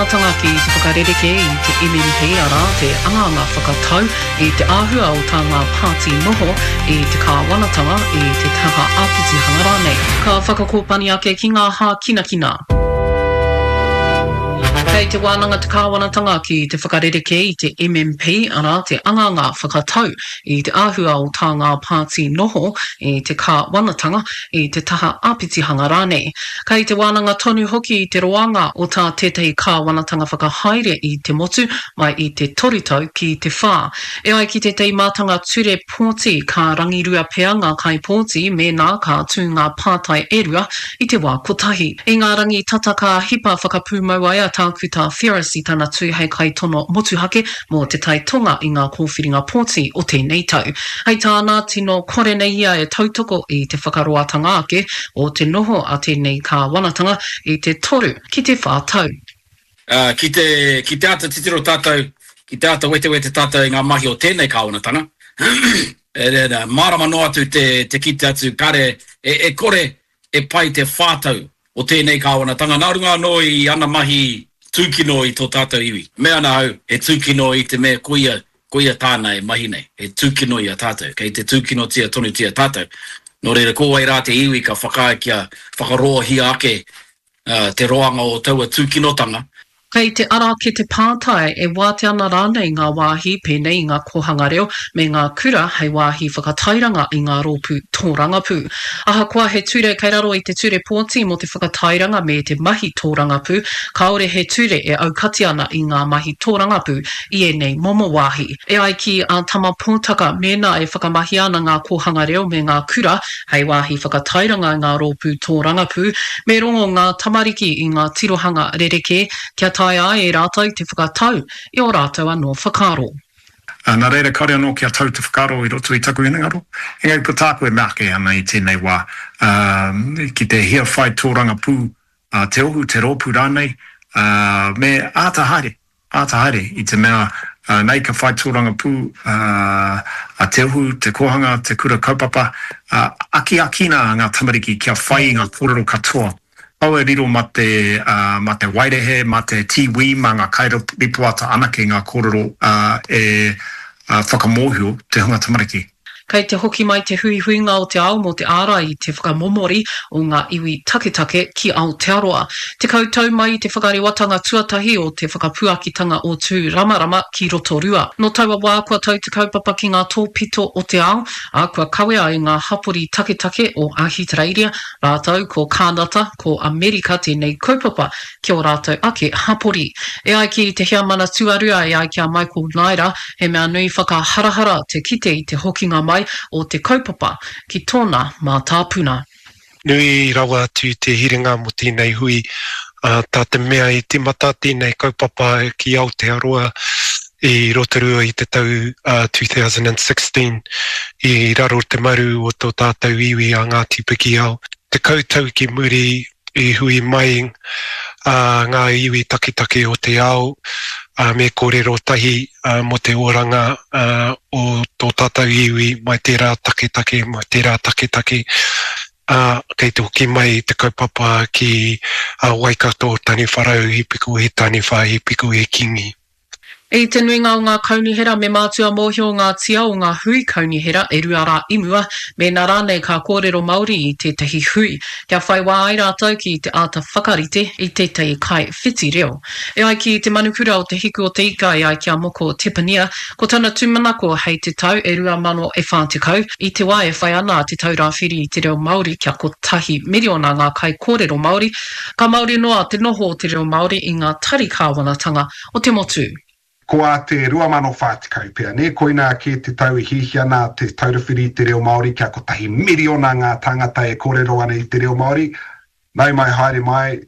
kāwanatanga ki te whakarerekē i te MMP, arā, te angaanga whakatau i te āhua o tā ngā pāti noho i te kāwanatanga, i te taha āpitihanga rānei. Ka whakakōpani ake ki ngā hākinakina. Kei te wānanga te kāwanatanga ki te whakarerekē i te MMP, arā, te angaanga whakatau i te āhua o tā ngā pāti noho i te kāwanatanga, i te taha āpitihanga rānei. Kei te wānanga tonu hoki i te roanga o tā tētahi kāwanatanga whakahaere i te motu mai i te toru tau ki te whā. E ai ki tētahi mātanga ture pōti, ka rangirua pea ngā kaipōti mēnā ka tū ngā pātai e rua i te wā kotahi. I ngā rangi tata ka hipa whakapūmau ai a Tākuta Ferris i tana tū hei kaitono motuhake mō Te Tai Tonga i ngā kōwhiringa pōti o tēnei tau. Hei tāna, tino kore nei ia e tautoko i te whakaroatanga ake o te noho a tēnei kāwanatanga i te toru ki te whā tau. Ā, ki te, ki te āta titiro tātou, ki te āta wetewete tātou i ngā mahi o tēnei kāwanatanga, e, mārama noa atu te, te kite atu kāre, e, e kore e pai te whātau o tēnei kāwanatanga nā runga anō i ana mahi tūkino i tō tātou iwi. Mea ana au, he tūkino i te mea koia, koia tāna e mahi nei, he tūkino i a tātou, kei te tūkinotia tonutia tātou. Nō reira, ko wai rā te iwi ka whakaae kia whakaroahia ake te roanga o taua tūkinotanga. Kei te ara ake te pātai, e wātea ana rānei ngā wāhi pēnei i ngā kōhanga reo me ngā kura hei wāhi whakatairanga i ngā rōpū tōrangapū? Ahakoa he ture kei raro i te Ture Pōti mō te Whakatairanga me te Mahi Tōrangapū, kāore he ture e aukati ana i ngā mahi tōrangapū i ēnei momo wāhi. E ai ki a Tama Pōtaka, mēnā e whakamahia ana ngā kōhanga reo me ngā kura Hei wāhi whakatairanga i ngā rōpū tōrangapū, me rongo ngā tamariki i ngā tirohanga rerekē kia taea ai e rātou te whakatau i ō rātou anō whakaaro. Nā reira, kāore anō kia tau te whakaaro i roto i taku hinengaro, engari ko tāku e mea ake ana i tēnei wā, ki te hia whai tōrangapū te ohu, te rōpū rānei, me āta haere, āta haere i te mea nei ka whai tōrangapū a Te Ohu, te kōhanga, te kura kaupapa, akiakina ngā tamariki kia whai i ngā kōrero katoa. Kaua e riro mā te, mā te waerehe, mā te tīwī, mā ngā kairipoata anake ngā kōrero e whakamōhio te hunga tamariki. Kei te hoki mai te huihuinga o te ao mō te ārai i te whakamomori o ngā iwi taketake ki Aotearoa. 10 tau mai i te whakarewatanga tuatahi o te whakapuakitanga o Tūramarama ki Rotorua. Nō taua wā kua tau te kaupapa ki ngā tōpito o te ao, ā, kua kawea e ngā hapori taketake o Ahitereiria rātou ko Kānata, ko Amerika tēnei kaupapa ki ō rātou ake hapori. E ai ki te heamana tuarua e ai ki a Michael Naera, he mea nui whakaharahara te kite i te hokinga mai o te kaupapa ki tōna mātāpuna. Nui rawa atu te hiringa mō tēnei hui, ā, tā te mea i tīmata tēnei kaupapa ki Aotearoa i Rotorua i te tau 2016 i raro te maru o tō tātou iwi a Ngāti Pikiao. 10 tau ki muri i hui mai ngā iwi taketake o te ao me kōrero tahi mō te oranga o tō tātou iwi mai tērā taketake, mai tērā taketake, ā, kei te hoki mai te kaupapa ki Waikato, Taniwharau, He Piko He Taniwha, He Piko He Kingi. I te nuinga o ngā kaunihera me mātua mōhio ngā tia o ngā hui kaunihera e rua rā i mua, mēnā rānei ka kōrero Māori i tētahi hui, kia whai wā ai rātou ki te āta whakarite i tētahi kaiwhiti reo. E ai ki te manukura o Te Hiku o Te Ika e ai ki a Moko Tepania, ko tana tūmanako hei te tau e 2040, i te wā e whai ana a Te Taura Whiri i te Reo Māori kia kotahi miriona ngā kaikōrero Māori, ka māori noa te noho o te reo Māori i ngā tari kāwanatanga o te motu. Ko ā te 2040 pea, nē, koinā kē te tau e hiahia ana Te Taura Whiri i te Reo Māori kia kotahi miriona ngā tāngata e kōrero ana i te reo Māori. Nau mai haere mai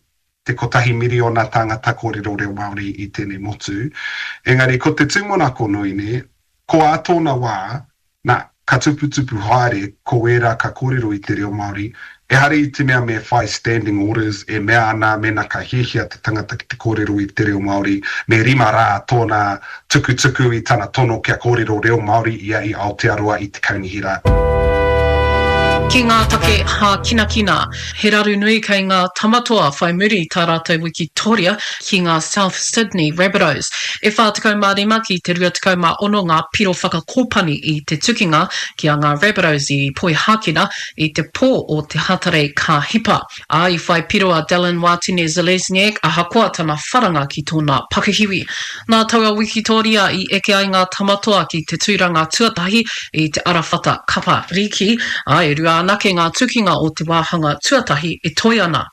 te kotahi miriona tāngata kōrero reo Māori i tēnei motu. Engari ko te tūmanako nui, nē, ko ā tōna wā, Nā, ka tuputupu haere ko ērā ka kōrero i te reo Māori, ehara i te mea me whai standing orders e mea ana mēnā ka hiahia te tangata ki te kōrero i te reo Māori, me rima rā tōna tukutuku i tana tono kia kōrero reo Māori ia i Aotearoa i te kaunihera. Ki ngā take hākinakina, he raru nui kei ngā Tamatoa whai muri i tā rātou wikitoria ki ngā South Sydney Rabbitohs. E 45 ki te 26 ngā piro whakakōpani i te tukinga ki a ngā Rabbitohs i Poihākena i te pō o te Hatarei ka hipa. Ā, i whai piro a Dallin Wātene-Zelezniak ahakoa tana wharanga ki tōna pakihiwi. Nā taua wikitōria i eke ai ngā Tamatoa ki te tūranga tuatahi i te arawhata kapa rīki, ā, e rua anake ngā tukinga o te wāhanga tuatahi e toe ana.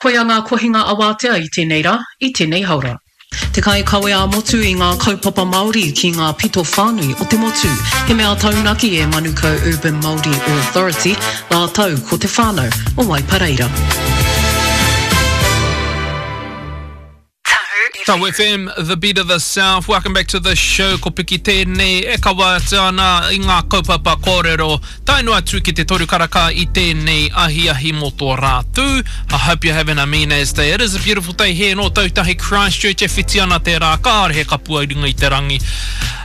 Koia ngā kohinga awātea i tēnei rā, i tēnei haora. Te kaikawe ā-motu i ngā kaupapa Māori ki ngā pito whānui o te motu. He mea taunaki e Manukau Urban Māori Authority rātou ko te whānau o Waipareira. Tahu FM, the beat of the south. Welcome back to the show. Ko Piki tēnei e kawa atu ana i ngā kaupapa kōrero Tae noa atu ki te toru karaka i tēnei ahiahi mō tō rā tū. I hope you're having a mean as day. It is a beautiful day here in Ōtautahi Christchurch e whiti ana te rā, kāore he kapua i runga i te rangi.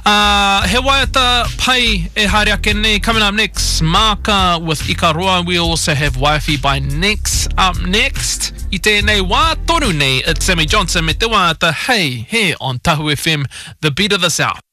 Uh, he waiata pai e haere ake nei. Coming up next, Maaka with Ikaroa. We also have Wifey by Nex up next. I tēnei wā tonu nei, it's Sammy Johnson me te waiata Hey, here on Tahu FM, the beat of the South.